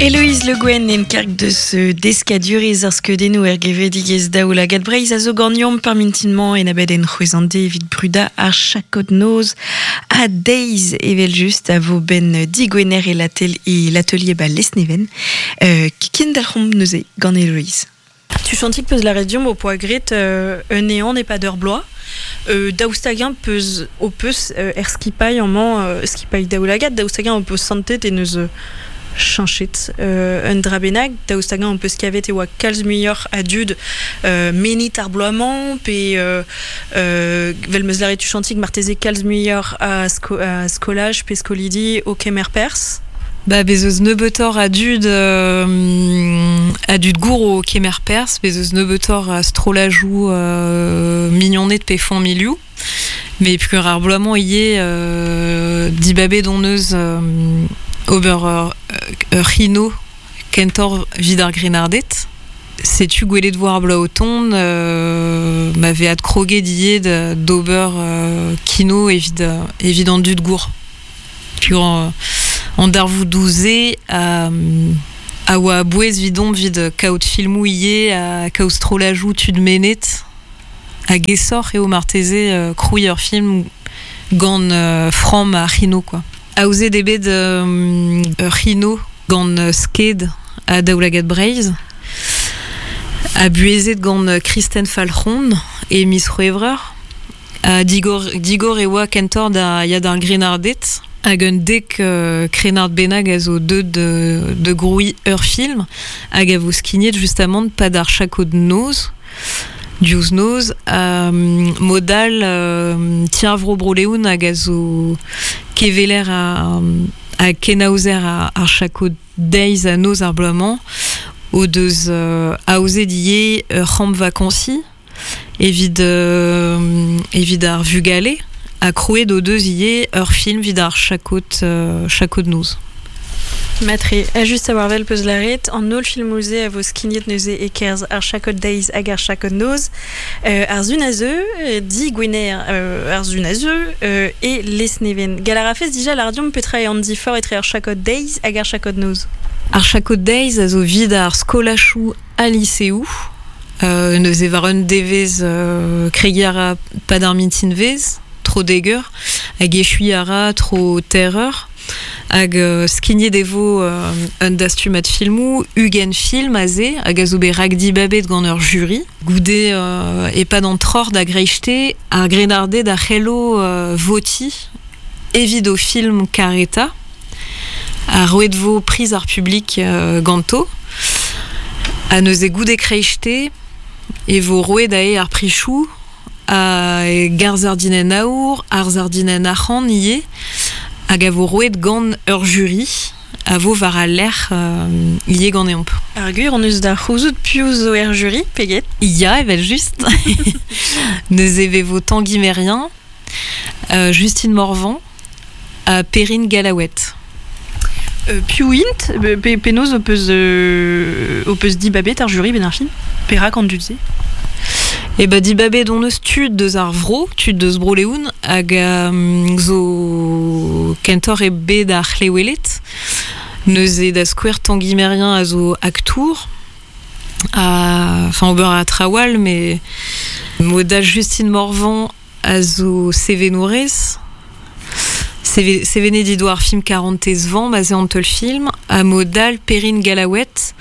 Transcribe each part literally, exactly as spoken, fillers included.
Héloïse Le Guen en karg deus deskadurez ar skeudennoù er gevredigezh Daoulagad Breizh a zo ganeomp par mintinmañ en abadenn c'hwezhande evit brudañ ar chakod noz ha deiz evel just a vo ben digwener e latel e l'atelier ba Lesneven euh, kendalc'homp neuze gant Héloïse. Tu chantik peus la rediom o poa gret euh, un néant et pas d'heure blois. Euh, daoustagin peus o peus euh, er skipailh amañ euh, skipailh daoulagad daoustagin o peus santet e neus euh, chanchet euh, un dra bennak daoustagin on peus kavet e oa kalz muioc'h a dud euh, menit ar bloaz-mañ pe euh, euh, vel meus lâret tu chantik marteze kalz muioc'h a, sko a skolaj pe skolidi o kemer perzh. Ba bez eus nebeutoc'h a dud euh, a dud gour o kemer perzh, bez eus nebeutoc'h a strollajoù euh, mignoned pe familhoù. Mais puer ar bloaz-mañ ivez euh, dibabet hon eus euh, ober ur, ur c'hino kentoc'h 'vit ar grennarded. Setu gwelet vo ar bloaz o tont, euh, ma vez adkroget ivez d'ober euh, kino evit, evit an dud gour. Puer euh, an darvoudoù-se a, a oa a-bouez 'vidomp 'vit kaout filmoù ivez ha kaout strollajoù tud mennet hag aesoc'h eo marteze euh, krouiñ ur film gant euh, framm ar c'hino quoi. Aozet eo bet euh, ur c'hino gant Sked ha Daoulagad Breizh ha buhezet gant Kristen Falc'hon e miz C'hwevrer ha digor, digor e oa kentoc'h da ya d'ar grennarded hag un dek euh, krennard bennak a zo deuet de, de grouiñ ur film hag a vo skignet justamant pad ar chakod noz diouzh noz euh, modal euh, Ti ar Vro Bro-Leon hag a zo keveler a, a kenaozer ar, ar chakod deiz ha noz ar bloaz-mañ o deus euh, aozet ivez ur c'hamp vakansiñ evit, euh, evit ar vugale ha krouet o deus ivez ur film evit ar chakod, euh, chakod noz. Matre, a just a war vel peus lâret, an holl filmoù-se a vo skignet neuze e-kerzh ar chakod deiz hag ar chakod noz, euh, ar sun a zeu, digwener euh, ar sun a zeu, euh, e Lesneven. Gall a rafes dija lâr deomp petra eo an diforc'h etre ar chakod deiz hag ar chakod noz. Ar chakod deiz a zo 'vit ar skolajoù ha liseoù, euh, neuze war un devezh euh, kregiñ a ra pad ar mintinvezh, tro dek eur, hag echuiñ a ra tro teir eur, hag euh, skignet e vo euh, un dastumad filmoù, ugent film aze, hag a zo bet rakdibabet gant ur jury. Goude euh, e-pad an troc'h da greisteiz, ar grennarded a c'hello euh, votiñ evit o film karetañ, ha roet vo priz ar publik euh, ganto. Ha neuze goude kreisteiz e vo roet aze ar prizioù, ha ar sardinenn aour, ar sardinenn arc'hant ivez, hag a vo roet gant ur jury, a vo war al lec'h euh, ivez ganeomp. Ar gwir hon eus da c'houzout piv zo er jury, pe get? Ya, evel just. Neuze e vo Tanguy Merien, euh, Justine Morvan, ha Perrine Gallaouet. Euh, piv int, pe, penaos ho peus, euh, ho peus dibabet ar jury 'benn ar fin? Perak an dud-se? E ba dibabet hon eus tud deus ar vro, tud deus Bro-Leon, hag euh, zo kentoc'h e bed ar c'hleweled. Neuze da skouer Tanguy Merien a zo aktour, ha, enfin ober a traoù all, mais mod all Justine Morvan a zo sevenourez, Seve- sevenet he doa ar film Karantez Vamm aze an teulfilm, ha mod all Perrine Gallaouet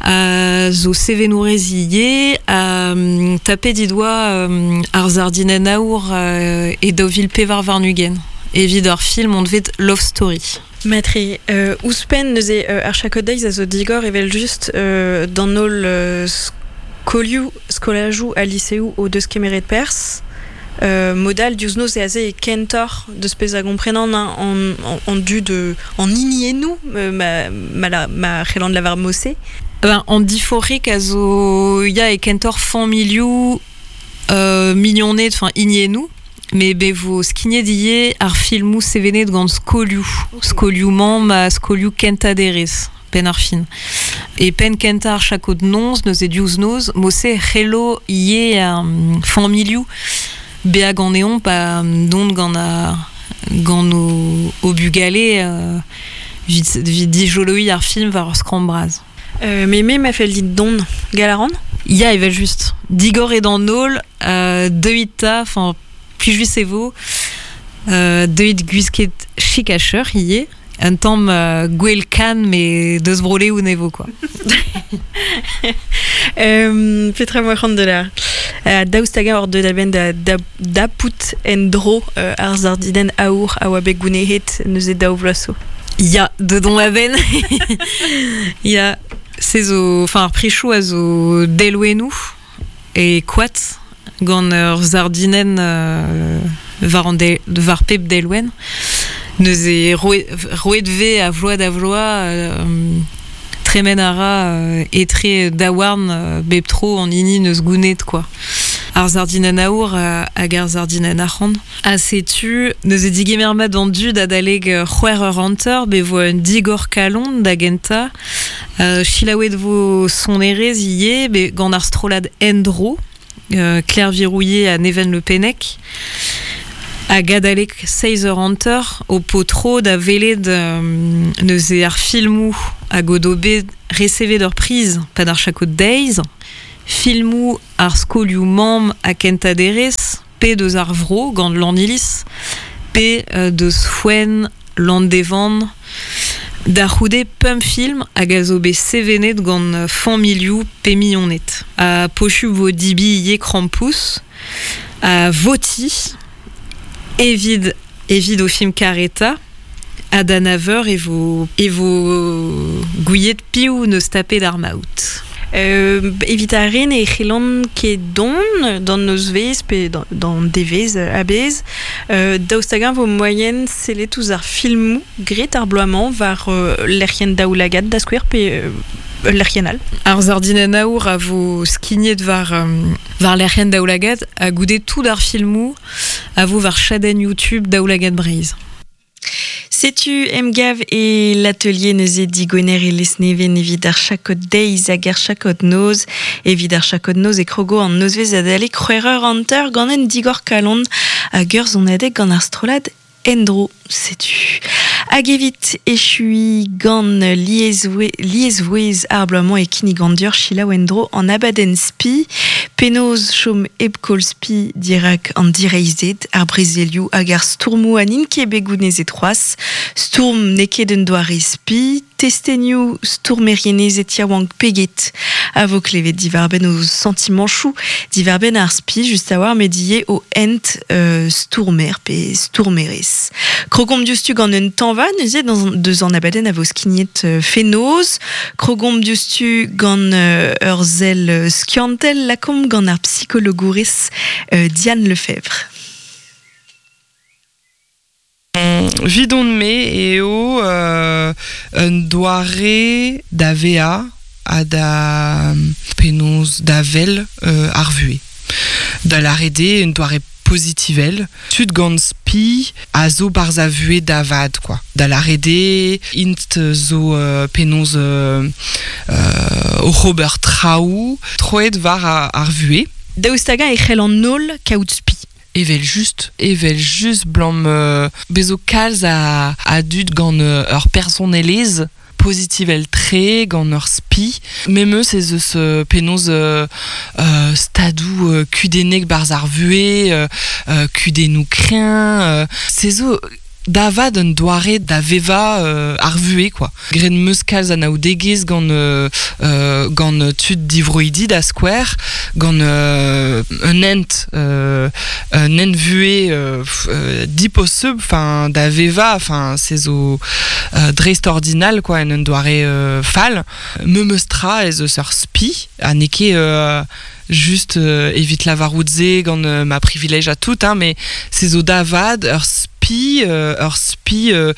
a zo sevenourez ivez, ha um, tapet he doa um, ar sardinenn aour euh, e daou vil pevar warn-ugent evit ar film anvet Love Story. Matre, euh, ouzhpenn neuze euh, ar chakod deiz a zo digor evel just euh, d'an holl euh, skolioù, skolajoù ha liseoù o deus kemeret perzh. Euh, mod all diouzh noz e aze e kentoc'h deus pezh a gomprenan an, an, an dud euh, an hiniennoù euh, ma, ma, la, ma c'hellan lavar mod-se. Ben, an diforc'hig a zo ya e kentoc'h familhoù euh, mignoned, enfin hiniennoù, mais be vo skignet ivez ar filmoù sevenet gant skolioù. Okay. Skolioù mamm ha skolioù kentañ derez, 'benn ar fin. E penn kentañ ar chakod noz, neuze diouzh noz, mod-se c'hello ivez um, familhoù bezañ ganeomp ha dont gant a, gant o, o bugale euh, Vit, vit dijoloi ar film war ur skramm bras. Euh, mais me ma fel dit don galaran? Ya, evel just. Digor eo d'an holl, euh, deuit ta, enfin, plijus e vo, euh, deuit gwisket chik ha cheuc'h ivez, un tamm euh, gwell kan, mais deus brole ou nevo, quoi. euh, Petra moa c'hoant de la euh, daoust hag hor deut a-benn da, da, da pout en dro euh, ar sardinen aour a oa bet gounehet neuze daou vloaz zo. Ya, dedon a-benn. Ya, se zo, enfin, ar prichoù a zo delwennoù e koad gant ur sardinen euh, war an de, war pep delwenn. Neuze roet ve a vloaz da vloaz euh, tremen a ra euh, etre daouarn euh, bep tro an hini neus gounet, quoi. Ar sardinen aour euh, hag ar sardinen arc'hant. Ha setu, neuze digemer mat an dud adaleg c'hwec'h eur hanter, be vo un digor kalon da genta. Euh, Chilaouet vo sonerezh ivez, be gant ar strollad Endro, euh, Claire Virouillet ha Neven Le Pennec. Hag adalek seizh eur hanter o potro da welet euh, neuze ar filmoù hag o do bet resevet ur priz pad ar chakod deiz, filmoù ar skolioù mamm ha kentañ derez, pe deus ar vro gant Lannilis, pe euh, deus Fouen, Landévan, da c'houde pemp film hag a zo bet sevenet gant familhoù pe mignoned. Ha posupl vo dibi ivez krampouezh, ha voti evit, evit o film kareta, ha da nav eur e vo, e vo gouiet piv neus tapet ar maout. Euh, evit ar re ne c'hellont ket dont d'an nozvezh pe d'an devezh a-bezh, euh, daoust hag-eñ vo moaien sellet ouzh ar filmoù graet ar bloaz-mañ war euh, lec'hienn Daoulagad da skouer pe euh, ul lec'hienn all. Ar sardinen aour a vo skignet war, euh, war lec'hienn Daoulagad ha goude tout ar filmoù a vo war chadenn YouTube Daoulagad Breizh. Setu emgav e l'atelier neuze digwener e Lesneven evit ar chakod deiz hag ar chakod noz. Evit ar chakod noz e krogo an nozvezh adalek c'hwec'h eur hanter gant un digor kalon hag ur sonadeg gant ar strollad Endro, setu. Hag evit echui gant liesvouezh ar bloaz-mañ e kinnigan deoc'h selaou en-dro an abadenn spi, penaos chom hep koll spi dirak an direizhded, ar brezelioù hag ar stourmoù ha n'int ket bet gounezet c'hoazh, stourm n'eo ket un doare spi, testenioù stourmerienezed yaouank peget a vo klevet diwar-benn o santimanchoù, diwar-benn ar spi just a-walc'h met ivez o hent euh, stourmer pe stourmerez. Krogomp diouzhtu gant un tañva neuze deus an abadenn a vo skignet euh, fenoz, krogomp diouzhtu gant euh, ur sell skiantel lakaomp gant ar psikologourez euh, Diane Lefebvre. Vidon-me eo euh, un doare da vezañ ha da penaos da wel euh, ar vuhez. Da lâret eo un doare pozitivel. Tud gant spi a zo barzh a vuhez da vat, quoi. Da lâret eo int zo euh, penaos euh, euh, oc'h ober traoù, troet war ar, ar vuhez. Daoust hag-eñ e c'hell an holl kaout spi. Evel just, evel just blam euh, bezo kalz a, a dud gant euh, ur personelezh pozitivel tre gant ur spi. Memes ez eus euh, penaos euh, euh, stadoù euh, kudennek barzh ar vuhez, euh, euh, kudennoù kreñv, euh, se zo da vat un doare da vevañ euh, ar vuhez, quoi. Graet 'm eus kalz anaoudegezh gant, euh, euh, gant tud divroidi da skouer, gant euh, un hent, euh, un hent vuhez euh, euh, diposubl, enfin da vevañ, enfin se zo euh, dreistordinal, quoi, en un doare euh, fall. Memes tra ez eus ur spi, ha n'eo ket euh, just euh, evit lavarout se gant euh, ma privilège à tout, hein, mais se zo da vat ur spi, euh, ur spi euh,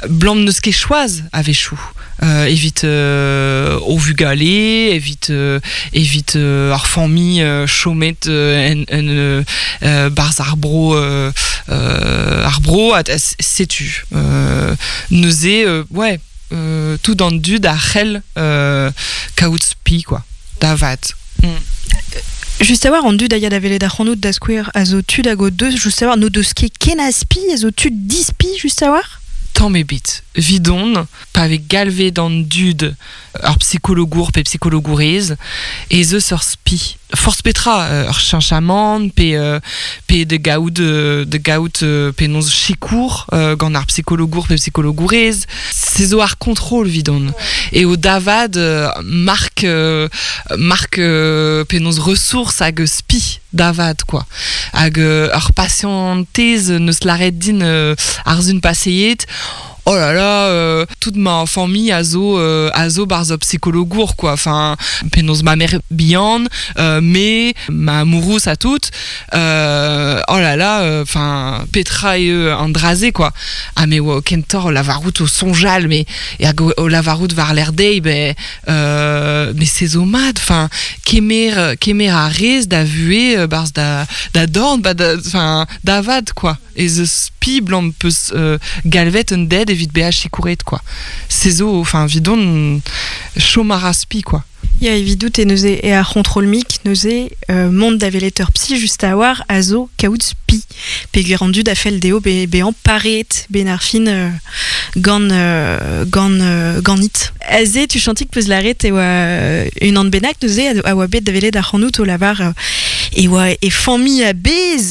blam n'eus ket choaz a-wechoù. Euh, evit euh, o vugale, evit, euh, evit euh, ar familh euh, chomet euh, en, en euh, euh, barzh ar bro, euh, euh, ar bro, ha setu. Euh, neuze, euh, ouais, euh, tout an dud a c'hell euh, kaout spi, quoi, da vat. Mm. Just a-walc'h, an dud a ya da welet ac'hanout da skouer a zo tud hag o deus, just a-walc'h, n'o deus ket ken a spi, a zo tud dispi, just a-walc'h? Tamm ebet. Vidon, pa vez galvet an dud ur psikologour pe psikologourez, ez eus ur spi. Forzh petra, euh, ur cheñchamant, pe, euh, pe de gaout, euh, de gaout euh, penaos sikour euh, gant ar psikologour pe psikologourez. Se zo ar kontrol vidon. E o davad euh, mark, euh, mark euh, penaos ressources hag spi davad, quoi. Hag euh, ur patientez neus laret din euh, ar zun paseiet, oh là là, euh, toute ma famille a zo, euh, a zo barz ur psikologour, quoi. Enfin, penaos ma mère bihan, euh, me, ma amourous a tout, euh, oh là là, enfin, petra eo an dra-se, quoi. Ah, me oa kentoc'h o lavarout o soñjal, mais e hag o, o lavarout war lerc'h dezhi, ben, euh, mais se zo mat, enfin, kemer, kemer a rez da vuhez euh, barz da, da dorn, ba da, enfin, da vat, quoi. Ez eus spi blam peus euh, galvet un den evit bezañ sikouret, quoi. Se zo, enfin, vidon, chom a ra spi, quoi. Ya evidout e neuze e ar c'hontrol mik neuze euh, mont da welet ur psi just a war a zo kaout spi. Peogwir an dud a fell dezho be, bezañ pareet ben ar fin euh, gant, euh, gant, euh, ganit. Aze tu chantik peus laret e oa unan bennak neuze a, a oa bet da welet ar c'hanout o lavar euh, e oa e familh a-bezh.